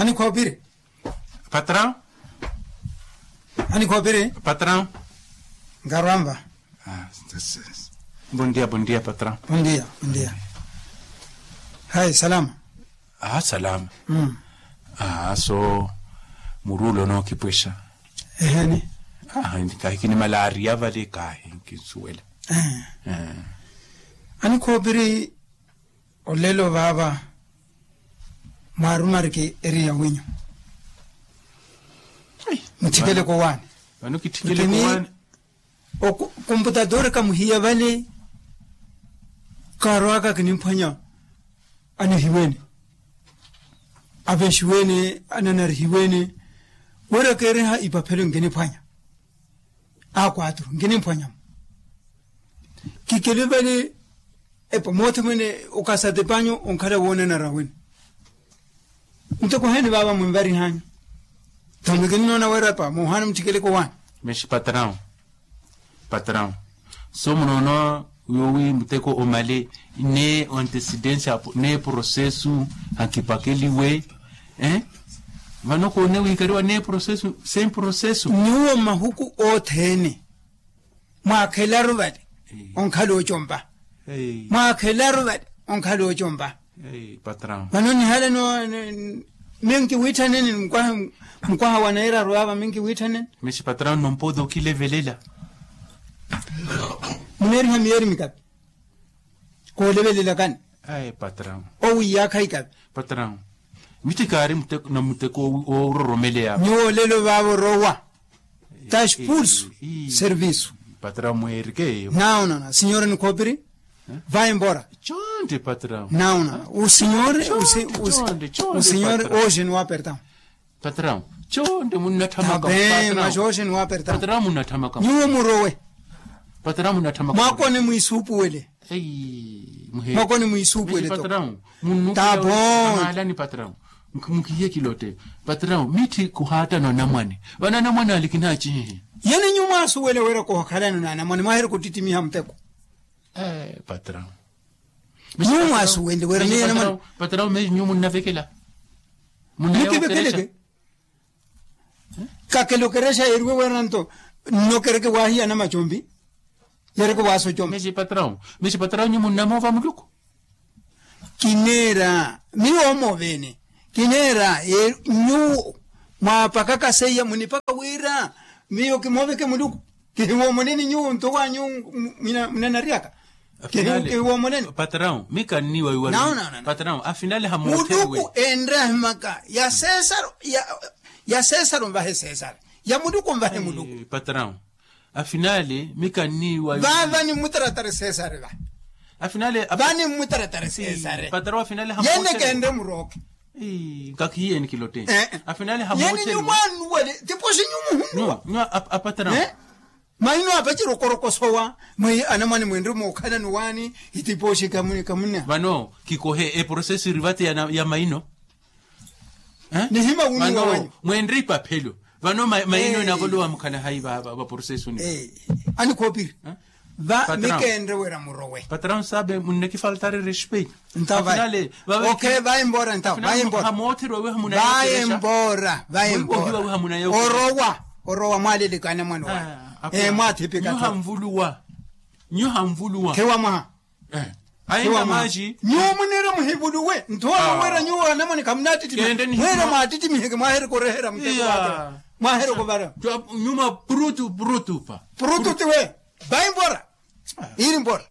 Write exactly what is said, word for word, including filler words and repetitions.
Anikhoopiri. Patrão. Anikhoopiri. Patrão. Nkarwamva. Bondia bondia patrão. Bondia bondia. Hai salama. Aa salama. Aa so murulo nookipwexa. Eheni. Kahi kinimalaariya vale kahi nkinsuwela. Anikhoopiri. Olelo vaava mwaarumariki eri ya winyu. Muthikele kowaani. Vano kitthikele kowaani. Komputatoori kamuhiya vale. Kaarwaaka kinimphwanya. Anihiwene. Avenxiwene ananarihiwene. Wira keeriha ipaphelo nkiniphwanya. Akwaturu nkiniphwanyamo. Kikele vale. Epa moothi mwene. Okasate panyu onkhala woonanara wene. Muteko oheeni vaava mwinvarihanyu. Thamunikini noona wira epa moohaana muthikeleke owaani. Mexi patrão. Patrão. So munoona yoowi muteko omale. N'antecedência n'eprocesso. Ankipakeliwe. Vano koone wiikariwa n'eprocesso. Sem processo. Nyuwo mahuku othene. Mwaakhelaru vale onkhala ocompa. Mwaakhelaru vale onkhala ocompa. Vano nihala no. Minki wiitthaneni. Mukwaha wa nairaru ava minki wiitthaneni. Mexi patrão nompooda okilevelela. Muneeriha miyeeri mikapi. Koolevelelakani. Owiiyaakha ikapi. Patrão. Mitthi kaari na muteko oororomeleya. Nyuwo olelo vaavo orowa. Tasi pulsu. Servisu. Patrão mweerike eyo. Naonana sinyora nikhoopiri. Vayi mbora. Conte patrão. Naonana usinyore. Usinyore oxeni wa pertão. Patrão. Conte munnathamaka. Patrão munnathamaka. Nyuwo murowe. Patrão munnathamaka. Mwakoni mwiisuupuwele. Mwakoni mwiisuupuwele to. Tapo. Maalani patrão. Mukihiye kilote. Patrão mitthi kuhaatana onamwane. Vano anamwane ali kinaacihihe. Yene nyuwo mwaasuwele wira kohakhalana na anamwane mwaaheri kuttittimiha muteko. Patrão. Nyuwo mwaasuwele wira miyo anamwane. Patrão mexi nyuwo munnavekela. Mukivekeleke. Kakela okerexa yeeriwe weera nto. Nnokereke waahiya anamacompi. Yeereke waasocomi. Mexi patrão. Mexi patrão nyu munnamoova muluku. Kineera miyo omoovene. Kineera nyuwo mwaapakaka seiya munipaka wira miyo kimooveke muluku. Kihiwoomoneni nyuwo nto wa nyuwo munanaryaka. Kihiwoomoneni. Patrão mi kanniiwa iwari. Patrão afinale hamootherwe muluku enre ahimaka ya sesaro. Ya sesaro nvahe sesaro ya muluku nvahe muluku. Patrão. Afinale mi kanniiwa. Vaava nimmutaratari sesare va. Afinale va nimmutaratari sesare. Patrão afinale hamootherwe yene kenre murooke. Nkakhiiyeni kilote. Afinale hamootherwe yene nyumwanuwele tipoxi nyumuhunnuwa. Nyuwa apatrão. Maino apaciri okorokosowa mwi anamwane mwenre mookhalani waani. Itipoxi kamunna vano kikohe eprocesso iri vate ya maino. Nihima wunnuwa wanyu mwenre ipaphelo. Vano maino enavolowa mukhala hayi vaporosesuni. Anikhoopiri va mikenre wira murowe. Patrão sabe munnekifaltari respeito. Ntawo vayi. Vayi mbora ntawo vayi mbora. Vayi mbora vayi mbora. Orowa orowa mwaalelekana mwana wayi. Mwathipika nyu hanvuluwa. Nyu hanvuluwa khiwa mwaha. Ahinda maji nyuwo munire muhivuluwe nthowa wira nyuwo anamwane khamunattittimiha. Mwira mwaattittimihe ke mwahereka oreherya muteko wake. Mwahereka ovara nyuma purutu purutu pa purutu tiwe. Vayi mbora iri mbora.